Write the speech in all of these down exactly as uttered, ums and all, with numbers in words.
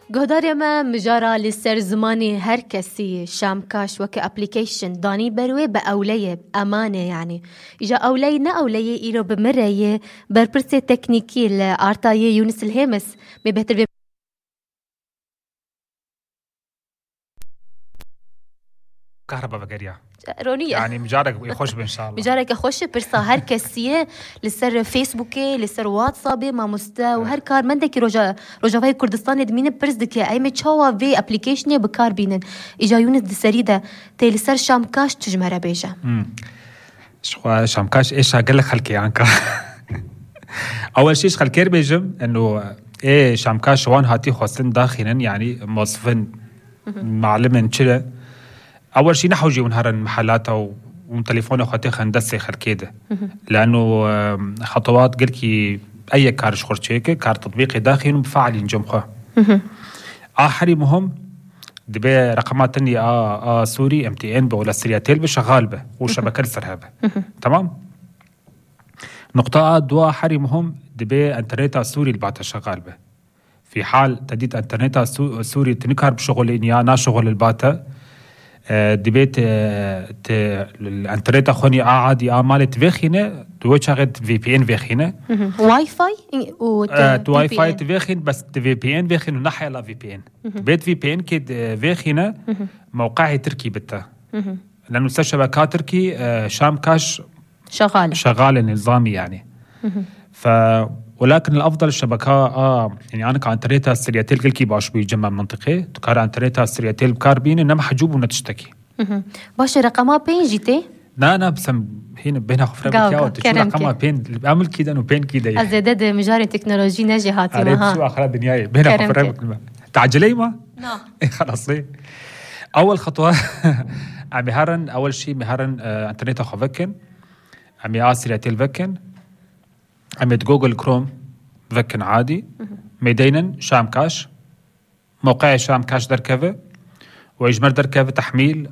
Guhdarê me, mijara li ser zimanê her kesî, Şamkaş weke application danî ber wê, bi ewleyê, emane, yanî. Îja ewleyî ne ewleyê îro bi min re yê, berpirsê teknîkî li arta yê Yûnis Lhêmis, me bêhtir vê Kahraba vegeriya. Ronî ye. Yanî micarek wê xweş bin inşallah. Micareke xweş e, pirsa her kesî ye, li ser Facebookê, li ser WhatsAppê, mamoste û her karmendekî roja, Rojavayê Kurdistanê dimîne pirs dike, ey me çawa vê applicationê bi kar bînin. Îja Yûnis di serî de tê li ser Şamkaş tu ji me re bêje. Ji xwe Şamkaş êşa gelek xelkê anka. Ewel şî ji xelkê re bêjim, eno ê Şamkaş wan hatî xwestin daxînin, yanî mosfin, malimên çi re. Ewel şî nehewcî hûn herin mehelata û hûn telefonê xwe têxin destê xelkê de. Leno, em, xetewat gelkî ey yek kar ji xwe çêke, kar tetbîqê daxîn û bifeelîn cem xwe. A herî muhim, dibe reqema tenî a, a Sûrî, M T N be, wela Siryatel be, şexal be û şebeke li ser hebe. Tamam? Nuqta a dua herî muhim, dibe enterneta Sûrî li bate şexal be. Fî hal te dît enterneta Sû-, Sûrî tu nikar bişixulîn ya naşixulî li bate, e, dibe te, te enterneta xwe nî a adî a malê tu vêxîne, tu wê çaxê tu V P N vêxîne. Wi-Fi û E, tu Wi-Fi tu vêxîn, bes tu V P N vêxîn û nahela V P N. Bêt V P N kê vêxîne, mewqeê Tirkî bite. Leno ser şebeka Tirkî, e, Şamkaş Şexal. Şexalê nizamî yanî. Fe, welakin el afdal şebeka a, yanî anika enterneta Siryatel gelkî baş bûyî cem mentiqê. Tu kar enterneta Siryatel bi kar bînî, ne mehcûb û ne tiştekî. Baş e, reqema pênc jî tê? Na, na, bisem hîn bêhna xwe firem Gaw, bikiya, gaw, tu çû kerem reqema ke. pênc, em li kî de û pênc kî de ye. Ez zêde di mijarê teknolojî ne jê hatî Erê, me ha. Çû axira dinyayê. Bêhna xwe Kerem firem ke. bikin me. Teceleyî ma? Na. Ê, xelasê. Ewel xetwa, em ê herin, ewel şî me herin, e, enterneta xwe vekin. Em ê a Siryatel vekin. Em ê di Google Chrome vekin adî. Me deynin Şamkaş. Mewqeê Şamkaş derkeve. Û ji me derkeve tehmîl,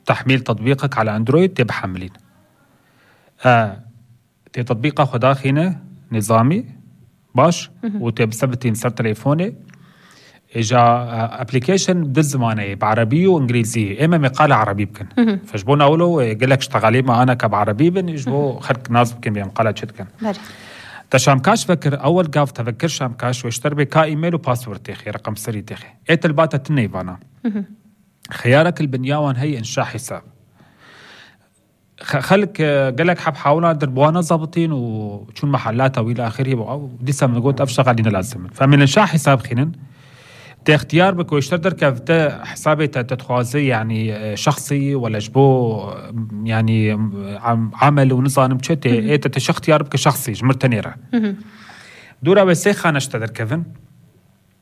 tehmîl tetbîqek ala Android tê bihemilîn. E, tê tetbîqa xwe daxîne nizamî, baş, û tê bisebitîn ser telefonê. Ê ja, e, application di zimanê ye, bi erebî û îngilîzî. Ê me, me qala erebî bikin. Fe ji bo nawilo, e, gelek ştexalî me anaka bi erebî bin, ji bo xelk nas bikin bê em qala çi dikin. Belê. Te Şamkaş vekir, ewel gav te vekir Şamkaş, wê ji te re bê ka email û password têxê, reqem serî têxê. Ê te li ba te tune vana. Xiyarek li binya wan heye înşa hesab. Xe-, xelk, e, gelek heb hawlan dir bi wan nezabitîn û çûn mehellata wî li axirî û ew dîsa min got ev şexalî ne lazim in. Fe em ê înşa hesab xînin. Te ixtiyar bike, wê ji te derkevte hesabê te, te dixwaze, yanî, e, şexsî, wele ji bo, e, yanî, e, am-, amel û nizanim çi tê, ê te, te şi ixtiyar bike şexsî, ji mir tenê re. Dûra wê sê xane ji te derkevin.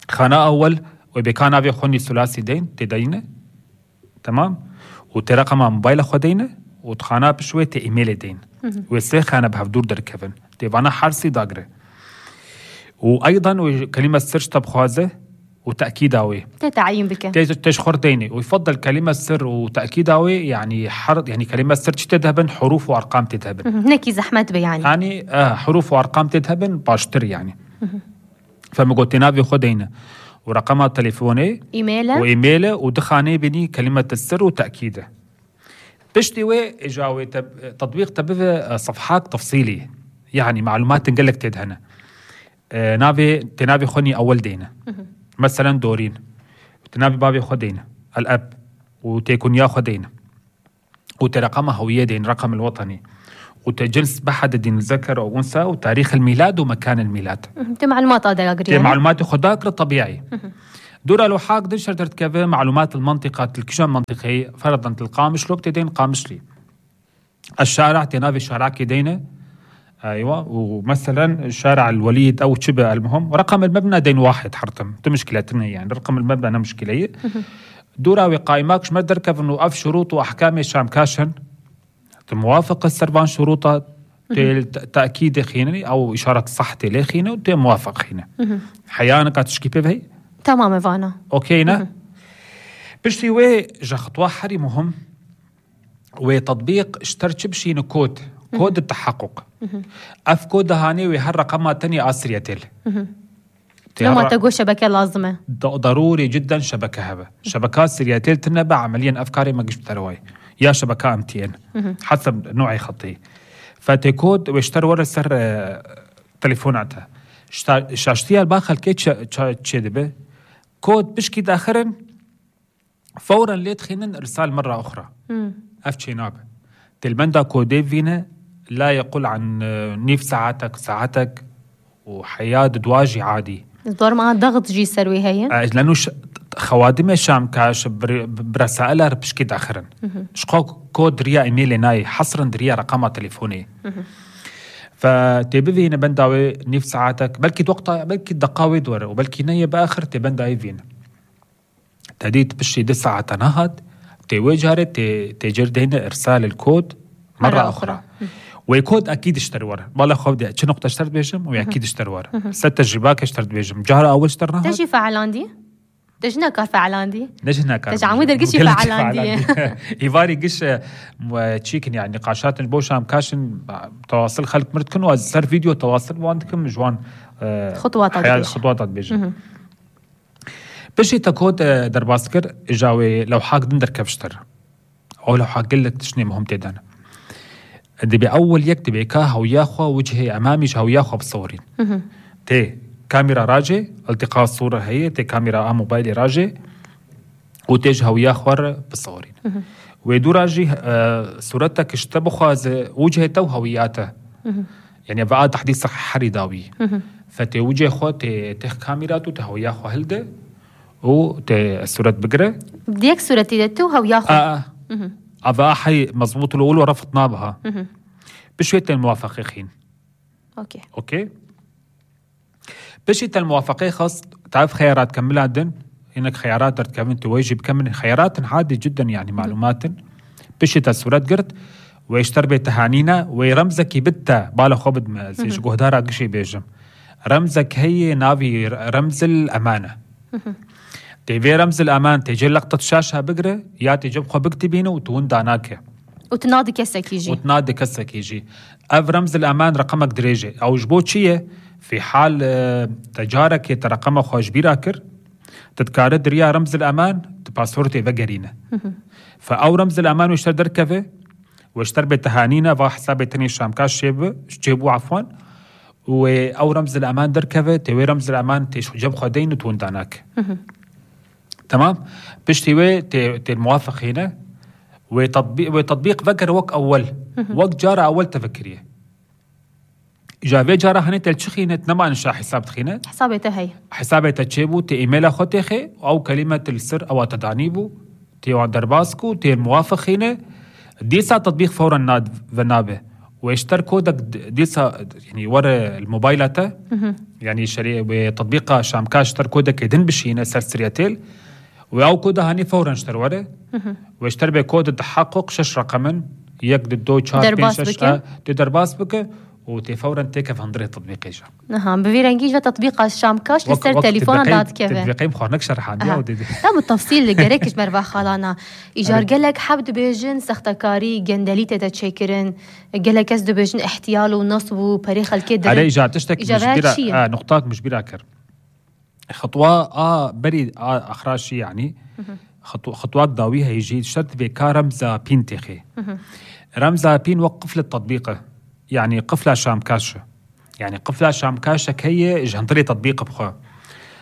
Xana ewel, wê bê ka navê xwe nî sulasî deyn, tê deyne. Tamam? Û tê reqema mobayla xwe deyne, û di xana piş wê tê emailê deyn. Wê sê xane bi hevdûr derkevin. Tê vana hersî dagire. Û eydan wê kelîme sir ji te bixwaze û tekîda wê. Tê teyîn bike. Tê, tê ji xwe re deyne. Û yufeddel kelîme sir û tekîda wê, yanî her, yanî kelîme sir çi tê dihebin, hurûf û erqam tê dihebin. Nekî zehmet be yanî. Yanî, e, hurûf û erqam tê dihebin, baştir yanî. Fe min got tê navê xwe deyne. Û reqema telefonê. Email e. Û email e û di xaneyê bînî kelîme sir û tekîd e. Piştî wê, îja wê te, tetbîq te bive, e, sefhak tefsîlî. Yanî, malumatên gelek tê de hene. E, navê, tê navê xwe nî ewel deyne. Meselen, dorîn. Tê navê bavê xwe deyne. El-eb. Û tê kunya xwe deyne. Û tê reqema hewiyê deyne, reqem el-wetenî. Û tê cins bihedidîn zeker ew unsa û tarîx el-mîlad û mekan el-mîlad. Tê malumat a dagirî. Tê malumatê xwe dagire tebîî. Dûra li hak din şer derdikeve malumat li mentiqa, til kîjan mentiqeyê, ferdan til Qamişlo, tê deyn Qamişlî. Eşşara, tê navê şarakê deyne. Eywa, û meselen şara el-Welîd ew çi be, el-muhim. Reqem el-mebna deyn wahid hertim. Tu muşkile tune yani. Reqem el-mebna ne muşkile ye. Dûra wê qaymak ji me derkevin û ev şurût û ehkamê Şamkaş in. Tu muwafiq e ser van şurûta, tê te-, tekîdê xînî, ew îşaret sah tê lê xîne û tê muwafiq xîne. Heya nika tişkî pê ve heye? Tamam e vana. Okey ne? Piştî wê ji xitwa herî muhim, wê tetbîq ji ter çi bişîne kod. Kod teheqquq. Ev kod dihanê wê her reqema tenê a Siryatel. Tê Loma herra- te got şebeke lazim e. Da-, darûrî cidden şebeke hebe. Şebeka Siryatel tine be, emeliyen ev karê me giş bi te re wayê. Ya şebeka M T N. Heseb nû'ê xetî. Fe tê kod wê ji te re were ser, e, telefona te. Şta-, şaştiya ba xelkê çi, ça-, çê dibe. Kod pişkî daxirin, fewren lê dixînin îrsal merra uxra. Ev çênabe. Tê li benda kodê vîne, la yequl an, e, nîv saetek, saetek û heya di dua jî adî. Ez barim a daxit jî ser wê heye. E, leno ş-, xewadimê şamkaş bi, bi resaila re pişkî daxirin. Ji xwe kod diriya emêlê nayê, hesrin diriya reqama telefonê. Fe tê bivîne benda wê nîv saetek, belkî di wexta, belkî deqa wê di were û belkî neyê bi axir tê benda wê vîne. Te dît piştî du saete nehat, tê wê carê tê, tê cir deyne îrsal il kod merra uxra. Wê kod ekîd ji te re were. Bala xwe de çi noqte ji te re dibêjim, wê ekîd ji te re were. Se tecrîbake ji te re dibêjim. Cara awil ji te re nehat. Te jî feelandî? Te ji nekar feelandî? Ne ji nekar. Te ji amû dergiş jî feelandî. Îvarî giş, e, mu-, çîkin yani, nîqaşatin ji bo şamkaşin, tewasil xelk mir dikin û ez ser vîdeo tewasil wan dikim, ji wan, e, xutwata dibêjim. Piştî te kod, e, derbas kir, îja wê lewhak din derkev ji te re. Ew lewha gelek tiştê muhim tê de ne. Dibê ewil yek dibê ka hewiya xwe wicihê emamî ji hewiya xwe bisewirîn. Tê kamera rajê, iltîqa sûre heye, tê kamera a mobaylê rajê û tê ji hewiya xwe re bisewirîn. Wê dû ra jî, e, sûretek ji te bixwaze wicihê te û hewiya te. Yani ve a tehdîsa herî dawî. Fe tê wicê xwe tê têx kamîra tu, te hewiya xwe hilde û tê sûret bigire. Di yek sûretî de tu hewiya xwe. A, a. A ve a hey mezbût lo wilo refit nabe ha. Piştê te muwafeqê xîn. Okey. Okey. Piştî te muwafeqê xist, te ev xeyarat kemila din, hinek xeyarat derdikevin, tu wê jî bikemilî. Xeyaratin hadî cidden, yani, malumatin. Piştî te sûret girt, wê ji te re bê tehanîne, wê remzekî bid te, bala xwe bidme, ez ê ji guhdara gişê bêjim. Remzek heye, navî re-, remzil eman e. Tê vê remzil eman tê cê leqtet şaşa bigire, ya tê cem xwe bikitibîne û tu winda nake. Û tu nadi kesekî jî. Û tu nadi kesekî jî. Ev remzil eman reqemek dirêj e. Ew ji bo çi ye? Fî hal, e, te carekê te reqema xwe ji bîra kir, tu dikare diriya remzil eman, tu passwordê vegerîne. Fe ew remzil eman wê ji te derkeve, wê ji te bê tehanîne, va hesabê tenê şamka çêbi-, çêbû, efwan. Û wê ew remzil eman derkeve, tê wê remzil eman tê ji cem xwe deyn û tu winda nake. Temam. Piştî wê tê, tê muwafeqîne. Wê tatbî-, wê tatbîq vekir wek ewel. Wek cara ewel te vekiriye. Îja vê cara henê te li çi xîne, tu nema nişa hesab dixîne. Hesabê te hey. Hesabê te çêbû, tê emaila xwe têxê, ew kelîme tu li ser ewa te danîbû, tê wan derbas ku, tê muwafeqîne. Dîsa tatbîq fewren nad-, ve nabe. Wê ji ter kodek d-, dîsa, yani, were li mobayla te, yani, şerê wê tatbîqa şamka ji ter kodekê din bişîne ser sirya têl. Wê ew koda hanî fewren ji ter were. Wê ji ter bê kod di heqûq şeş reqemin, yek, di, do, çar, pênc, şeş, a, tê derbas bike û tê fewren têkev hundirê tatbîqê jî. Niha, bi vî rengî ji ve tatbîqa şamkaş li ser telefona dadikeve. Dibêqeyim xwarnek şerhandiya û didî. Tam bi tefsîl gerek ji merva xalana. Îcar gelek heb dibêjin sextekarî, gendelî tê de çêkirin. Gelek kes dibêjin ihtiyal û nasb û perê xelkê dirin. Erê, îcar tiştek, îcar min ji bîra, çi ye? E, nuqtak min ji bîra kir. Xitwa a berî a axra şî, yanî xitw-, xitwak dawî heyî jî şert vê ka remza pîn têxê. Remza pîn wek qiflet tatbîq e. Yanî qifla şamkaş e. Yanî qifla şamkaşek heye ji hundirê tatbîq bixwe.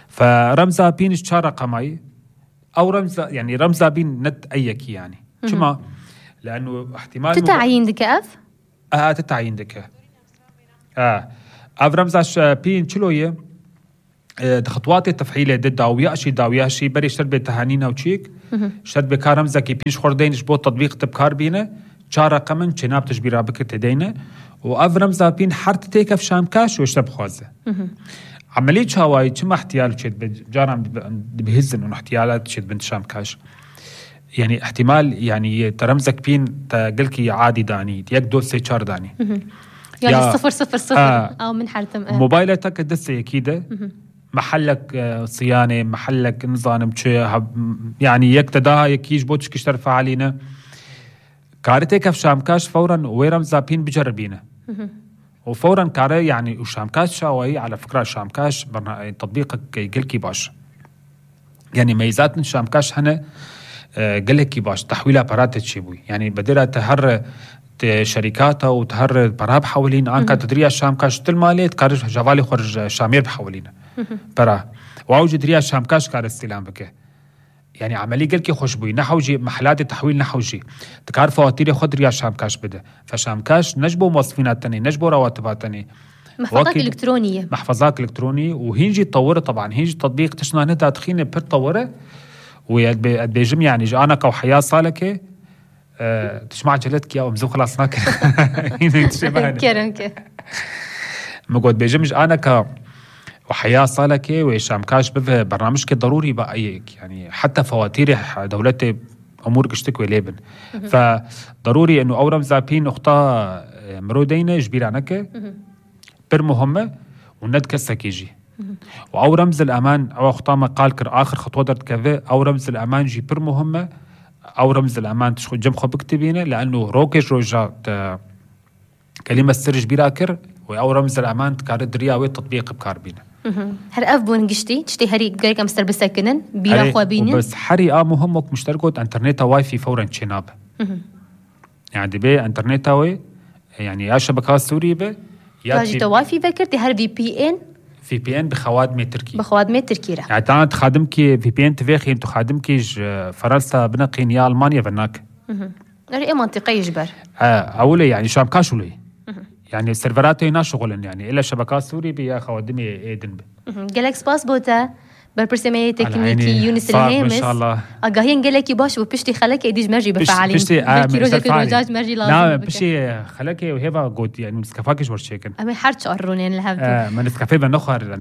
Fe remza pîn ji çar reqemayî. Ew remza, yanî remza pîn net ey yekî yanî. Çima? Leenu ihtimal tu tayîn dike ev? Aha, tu tayîn dike. Ha. Ev remza ş-, pîn çilo ye? E, di xitwatê tefhîlê de dawiya şî, dawiya şî, berê şert bê tehanîna û çîk, şert bê ka remzekî pîş xwe deyn ji bo tetbîq te bi kar bîne, çar reqemin çênab tu ji bîra bikir tê deyne. Û ev remza pîn her ti têkev şamkaş wê ji te bixwaze. Emelî çawayî çima ihtiyal çê dibe, caran dibe, dibihîzin û ihtiyalat çê dibin şamkaş. Yani ihtimal, yani te remzek pîn te gelkî adî danî, yek, do, sê, çar danî. Yani ya, sifir sifir sifir. Ha. Ew min hertim, e. Mobayla te ke destê yekî de, mehellek, e, siyanê, mehellek nizanim çi, ha, yani yek te daha yekî ji bo tişkî ji te re fealîne. Karê têkev şamkaş fewren wê remza pîn biceribîne. û fewren kare, yanî û Şamkaş çawayî, ala fikra Şamkaş berna-, e, tetbîqek gelkî baş. Yanî meyzatên Şamkaş hene, e, gelekî baş, tehwîla pera te çêbûyî. Yanî bedêra te her te şerîkata û te her pera bihewilîn, anka tu diriya Şamkaş til malê, dikare jevalê xwe ji Şamêr bihewilîne. Pera. Û ew jî diriya Şamkaş kare îstîlam bike. Yanî emelî gelkî xweş bûyî. Nehewjî, mehelatê tehwîl nehewjî. Dikar fewatîrê xwe diriya Şamkaş bide. Fe Şamkaş ne ji bo mosfîna tenê, ne ji bo rawatiba tenê. Mehfazak Wekî- elektronî ye. Mehfazak elektronî û hîn jî tewir e, teban. Hîn jî tetbîq tiştna ne dadixîne pir tewir e. Û ez bê-, ez bêjim, yanî ji anaka û heya salekê, e, tu çima ecelet kiya, em zû xilas nakin. Hîn tiştê me hene. Kerem ke. Min got bêjim ji anaka û heya salekê wê Şamkaş bive bernamijke derûrî be eyek. Yanî heta fewatîrê he-, dewletê emûr giştik wê lê bin. Fe derûrî eno ew remza pî nuxta, e, miro deyne ji bîra neke. Pir muhim e û ne di kesekî jî. Û ew remzil eman, ew xwta me qal kir, axir xitwa derdikeve, ew remzil eman jî pir muhim e. Ew remzil eman tişt xwe cem xwe bikitibîne, li eno rokê ji roja te kelîme sir ji bîra kir, û ew remzil eman dikare diriya wê tetbîq bi kar bîne. Her ev bûn giştî, tiştê herî gerek em ser bisekinin, bîra Herî, xwe û bînin. Bes herî a muhim wek mişter got, interneta Wi-Fi fewren çênabe. Yani dibê interneta wê, yani ya şebeka Sûrî be, ya Ka jî jî te Wi-Fi vekir, tê her V P N V P N bi xewadimê Tirkî. Bi xewadimê Tirkî re. Yani ta tu xadimkî V P N tu vêxîn, tu xadimkî ji Fransa bineqîn ya Almanya ve nak. Erê ê mantiqeyê ji ber. E, ewilê yani Şamkaş wilê. Yani serveratê naşixulin yani. Êla şebeka Sûrî be ya xewadimê ê din be. Gelek spas bo te. Berpirsê me yê teknîkî Yunus Lihêmis. Agahiyên gelekî baş bû piştî xelekê dî ji me jî bifelîn. Belkî rojekê roja ji me jî lazim bibe. Piştî xelekê û hêva got, yani Neskefakê ji bo çêkin. Em ê her çar rûnên li hev bin. Min Neskefê ve nexwarin.